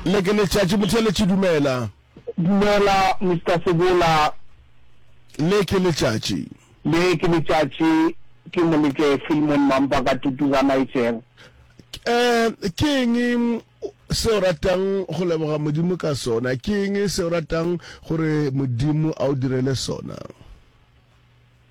Le ke letšatši motheeletši dumela. Dumela Mister Sebola. Le ke letšatši. Le ke letšatši ke Moleke Filmon Mampa ka Tutuza Niger. Eh ke eng se o ratang go leboga Modimo ka sona? Ke eng se o ratang gore Modimo a o direle sona?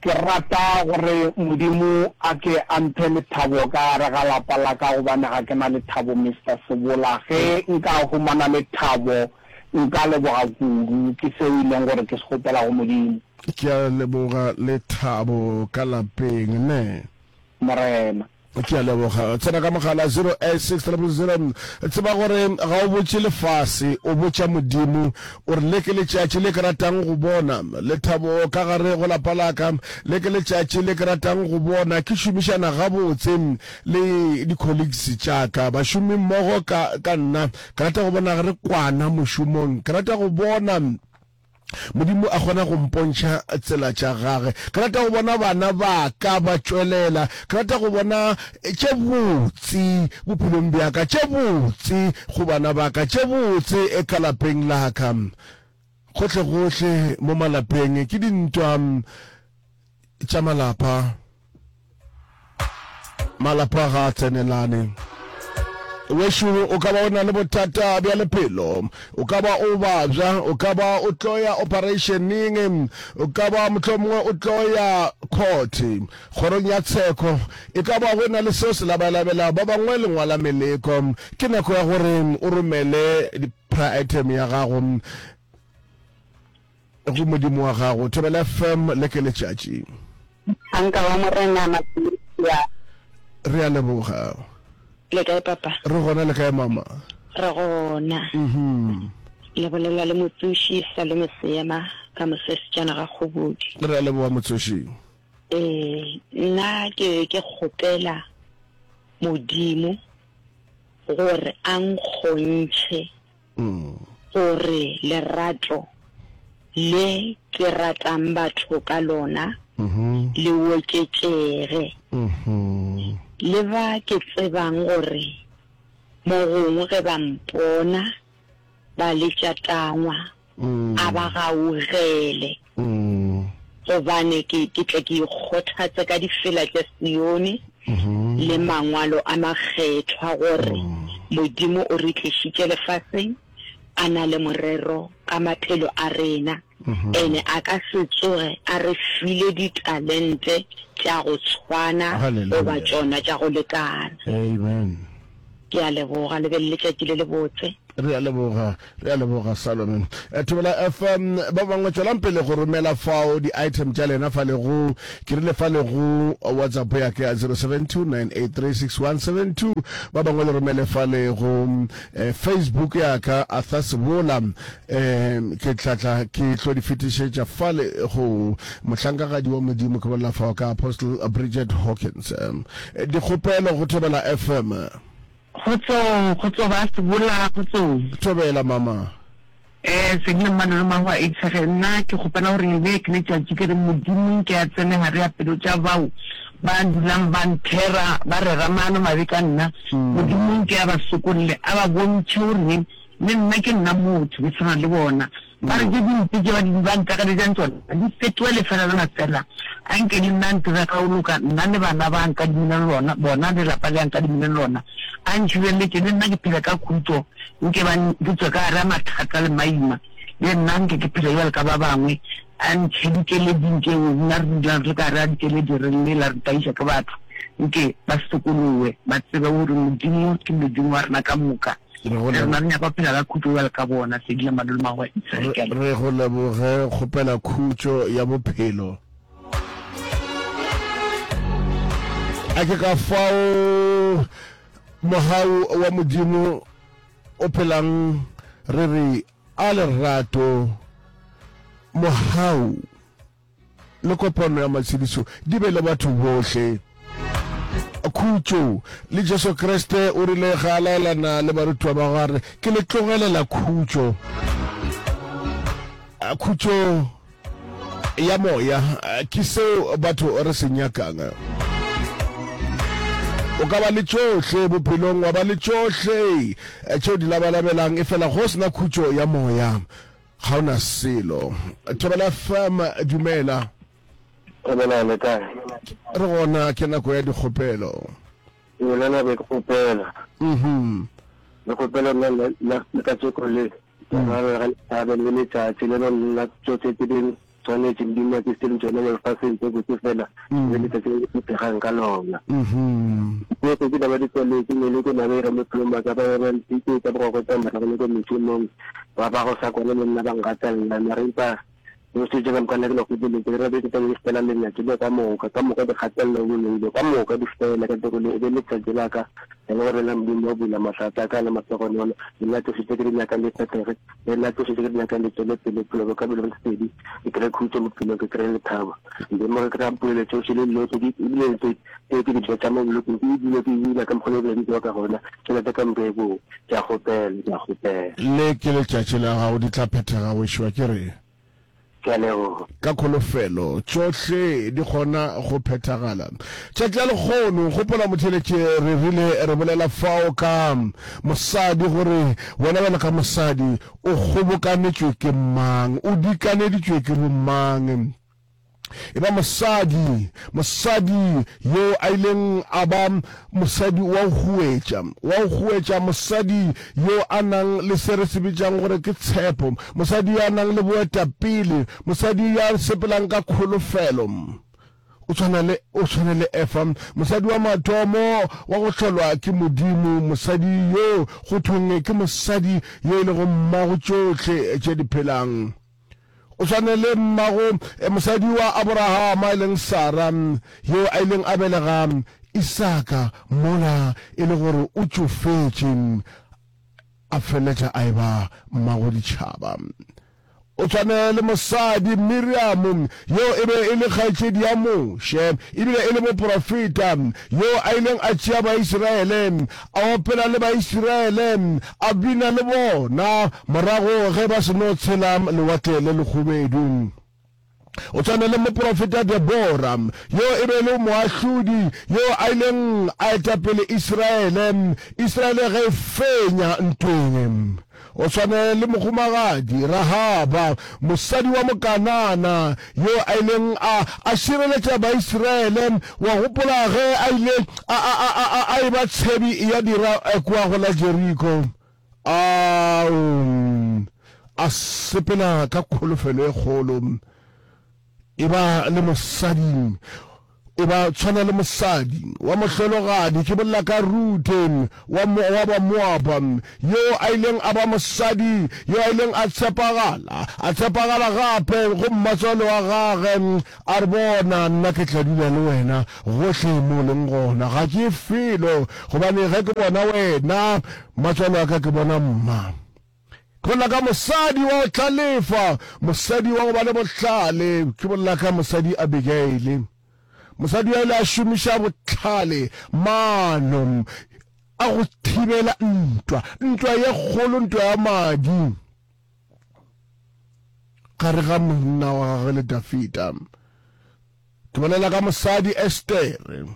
Ke rata gore Modimo a ke a mphe lethabo ka gare ga lapa la ka gobane ga ke na lethabo Mister Sebola. Ge nka humana lethabo nka leboga kudu. Ke seo e leng gore ke se kgopela go Modimo. Ke a leboga lethabo ka lapeng ne. Morena. Ke a leboga. Tsena ka mogala 086000. Tseba gore ga o botše lefase, o botša Modimo. O re, Le ke letšatši le ke ratang go bona lethabo ka gare go lapa la ka. Le ke letšatši le ke ratang go bona ke šomišana gabotse le di-colleagues tša ka, bašomimmogo ka, ka nna. Ke rata go bona re kwana mošomong. Ke rata go bona. Modimo a kgona go mpontšha tsela tša gage. Ke rata go bona bana ba ka ba tšwelela. Ke rata go bona tše botse bophelong bja ka, tše botse go bana ba ka, tše botse ka lapeng la ka. Gohlegohle mo malapeng ke dintwa tša malapa. Malapa ga a tsenelane. Wešo, o ka ba o na le bothata bja lephelo, o ka ba o babja, o ka ba o tlo ya ophareišeneng, o ka ba mohlomongwe o tlo ya court, kgorong ya tsheko, e ka ba go na le seo se labalabelago ba bangwe le ngwala meleko. Ke nako ya gore o romele prayer item ya gago Go Modimo wa gago. Thobela FM le ke letšatši. Mohlanka wa Morena Matshiya. Re a leboga. Le kae papa? Re gona le kae mama? Re gona. Mhm. Le bolela le motsoši Salome Seema ka mosesejana ga Kgobodi. Re a leboga motsoši. Ee, nna ke ke kgopela Modimo gore a nkgontšhe gore lerato le ke ratang batho ka lona le oketšege. Le ba ke tsebang gore mo gongwe ge ba mpona ba letša tangwa, a ba gaugele, gobane ke, ke tle ke ikgothatse ka difela tša Sione le mangwalo a makgethwa, gore Modimo o re tlišitše lefaseng a na le morero ka maphelo a rena, ene a ka se tsoge a re file ditalente tša go tshwana goba tšona tša go lekana. Amen. Ke a leboga, le be le letšatši le lebotse. Re a leboga, re a leboga Salome. Eh, Thobela FM, ba bangwe tšwelang pele go romela fao di-item tša lena fa le go, ke rile fa le go WhatsApp ya ka ya 0729836172. Ba bangwe le romele fa le go eh, Facebook ya ka Arthur Sebola. Eh, ke tla tla ke tlo di fetišetša fa le go mohlankagadi wa Modimo ke bolela fao ka Apostle Bridget Hawkins. Eh, dikgopelo go Thobela FM. Kgotsong, kgotso ba Sebola, kgotsong. Thobela mama. Eh, Sedile Mmalolo Mahwa Itshege, nna ke kgopela gore le ke letšatši ke re Modimo nke a tsene gare ya pelo tša bao ba dulang ba nthera ba rera maano mabe ka nna. Modimo nke a ba sokolle, a ba bontšhe gore le nna ke nna motho, ke tshwana le bona. Ba re tše dimpe tše ba di ba ntakalejang tšona di fetoge lefela la mafela. A nke le nna a ntire ka go loka, nna le bana ba a nkadimileng lona, bona le lapa le a nkadimileng lona. A ntšhireletše, le nna ke phele ka khutšo, nke ba ke tšwe ka gare ga mathata le maima, le nna nke ke phele bjalo ka ba bangwe. A ntšhe dikeleding tšeo nna re dulang re le ka gare ga dikeledi re lela re tlaišwa ke batho. Nke ba sokolowe, ba tsebe gore Modimo ke Modimo wa rena ka moka. Re go Le rena re nyaka go phela ka khutšo bjalo ka bona. Sedila Madulomagwe, Israel. Ke a leboga. Re go leboge, kgopela khutšo ya bophelo. A ke ka fao mogau wa Modimo o phelang re re a lerato mogau. le kopano ya matshedišo di be le batho bohle. Khutšo. Le Jesu Kriste o rile ge a laelana le barutiwa ba gagwe a re, Ke le tlogelela khutšo. Khutšo ya moya ke seo batho re se nyakang. O ka ba le tšohle bophelong, wa ba le tšohle tšeo di labalabelang, efela go se na khutšo ya moya, ga o na selo. Thobela FM, dumela. Thobela, le kae? Re gona, ke nako ya dikgopelo. Ee, le nna be ke kgopela. Mhm. Le kgopela nna le ka tšeko le. Ke ra le thabe le letšatši le nna tšohle tse di tshwanetše Modimo a tlisitse tšona mo lefaseng tse botse fela mm. le letšatši le ke phegang ka lona. Mhm. Tsohle tse ba di tswaletse meleko na ba ira mo phelong ba ka ba ba ntitse tsa bogoko tsa morago le ko mešomong ba ba go sa kwane le nna ba ngatelela mara empa Tsohle tše ka moka nna ke le kgopeletše, ke rapetše taba di fela lenyatšo le ka moka, ka moka dikgatelelo boloi ka moka di fele ka tšeko le, e be letšatši la ka le gore nna Modimo wa bula mahlatse a ka le mahlogonolo, le nna tsohle tše ke di nyakang di phethege, le nna tsohle tše ke di nyakang di tšwele pele, bophelo bja ka bo be le lesedi, ke kry-e khutšo bophelong, ke kry-e lethabo. Modimo ge ke ra polelo tšohle le dilo tše di, ebile tše tše ke di betša mo bolokong, ke ebile ke bina ka mokgwa le ebile di tsewa ka gona, tšhelete ka moka e boe. Ke a kgopela, ke a kgopela. Le ke letšatši la gago, di tla phethega, wešo, a ke re. Ke a leboga. Ka kholofelo, tšohle di kgona go phethagala. Tšatši la lekgono, gopola motheeletši, re rile re bolela fao ka mosadi, gore wena bjalo ka mosadi o kgobokanetšwe ke mang, o dikaneditšwe ke bomang. E ba mosadi, mosadi yo a ileng a ba mosadi wa go huetša, wa go huetša, mosadi yo a nang le se re se bitšang gore ke tshepo, mosadi yo a nang le boetapele, mosadi yo a sepelang ka kholofelo. O tshwana le, o tshwana le Efa, mosadi wa mathomo wa go hlolwa ke Modimo, mosadi yo go thweng ke mosadi yo e lego mmago tšohle tše di phelang. O swane le mmago mosadi wa Aborahama e leng Sara, yo a ileng a belega Isaka mola e le gore o tšofetše, a feleletša a eba mmago ditšhaba. O tshwane le mosadi Miriamo, yo e be e le kgaetšedi ya Moshe ebile e le moporofeta, yo a ileng a tšea Baisiraele, a opela le Baisiraele, a bina le bona morago ge ba seno tshela Lewatle le Lekhubedu. O tshwane le moporofeta Debora, yo e be e le moahlodi yo a ileng a eta pele Isiraele, Isiraele ge e fenya ntweng. O tshwane le mohumagadi Rahaba, mosadi wa Mokanana, yo a ileng a a šireletša Baisiraele. Wa gopola ge a ile a, a, a, a, a eba tshebi ya dira kua go la Jeriko? Ao, a sepela ka kholofelo e kgolo. Eba le mosadi, eba tshwana le mosadi wa mohlologadi, ke bolela ka Ruthe wa, wa Bamoaba, yo a ileng a ba mosadi yo a ileng a tshepagala, a tshepagala gape go mmatswale wa gage, a re, Bona, nna ke tla dula le wena gohle mo o leng gona, ga ke ye felo, gobane ge ke bona wena, mmatswale wa ka, ke bona mma. Ke bolela ka mosadi wa go hlalefa, mosadi wa go ba le bohlale. Ke bolela ka mosadi Abigaile. Mosadi yo a ile a šomiša bohlale, maano a go thibela ntwa, ntwa ye kgolo, ntwa ya madi gare ga monna wa gagwe le Dafida. Ke bolela ka mosadi Estere.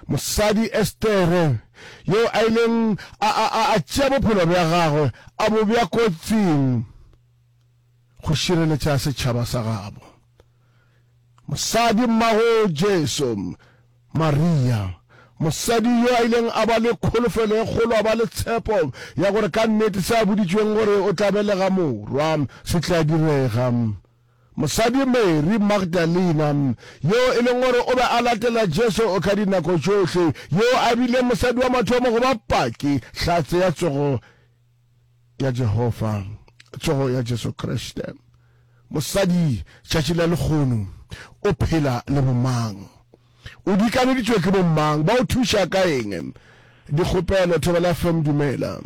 Mosadi Estere, yo a ileng a, a, a, a tšea bophelo bja gagwe a bo bea kotsing go šireletša setšhaba sa gabo. Mosadi mmago Jesu, Maria, mosadi yo a ileng a ba le kholofelo e kgolo, a ba le tshepo ya gore ka nnete se a boditšweng gore o tla belega morwa se tla direga. Mosadi Mary Magdalena, yo e leng gore o be a latela Jesu ka dinako tšohle, yo a bile mosadi wa mathomo go ba paki, hlatse ya tsogo ya Jehofa, tsogo ya Jesu Kriste. Mosadi tšatši la lekgono o phela le bomang? O dikaneditšwe ke bomang? Ba o thuša ka eng? Dikgopelo, Thobela FM, dumela.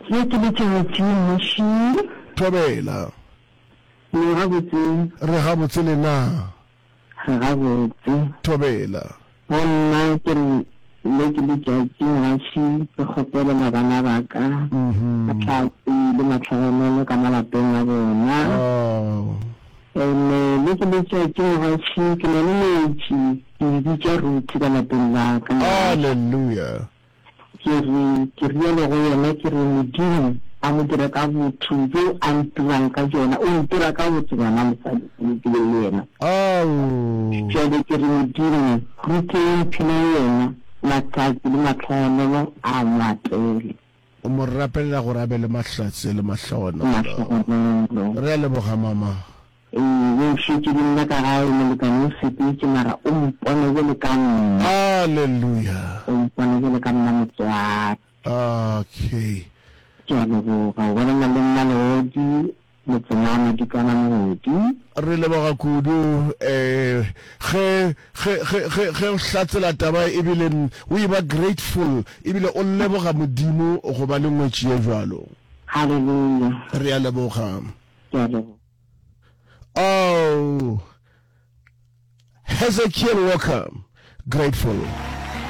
Ye ke letšatši, Mmuši. Thobela. Le gabotse? Re gabotse le na? Re gabotse. Thobela. Go nna ke re le ke letšatši mogaši ke kgopelela bana ba ka mahlatse le matlhogonolo ka malapeng a bona. Ene le ke letšatši mogaši ke na le metši. Ke e bitša Ruthi ka lapeng la ka. Hallelujah. Ke re, ke rialo go yena, ke re, Modimo a mo dire ka botho bjo a ntirang ka bjona. O ntira ka botho gona mosadi yo ke beng le yena. Ao. Bjale ke re, Modimo, Ruthe yo mphileng yena, mahlatse le mahlogonolo a mo atele. O mo rapelela gore a be le mahlatse le mahlogonolo. Mahlogonolo. Re a leboga, mama. Ee, o šetše le nna ka gae, molekane o sepetše, mara o mpone bjale ka mma. Hallelujah. O mpone bjale ka mma motswadi. Okay. Ke a leboga. O bolela le mma Leodi, motseng wa Madikana Moodi. Re leboga kudu eh ge ge ge ge ge o hlatsela taba ebile o e ba grateful ebile o leboga Modimo go ba le ngwetši ye bjalo. Hallelujah. Re a leboga. Ke a leboga. Oh, Hezekiel Walker, grateful.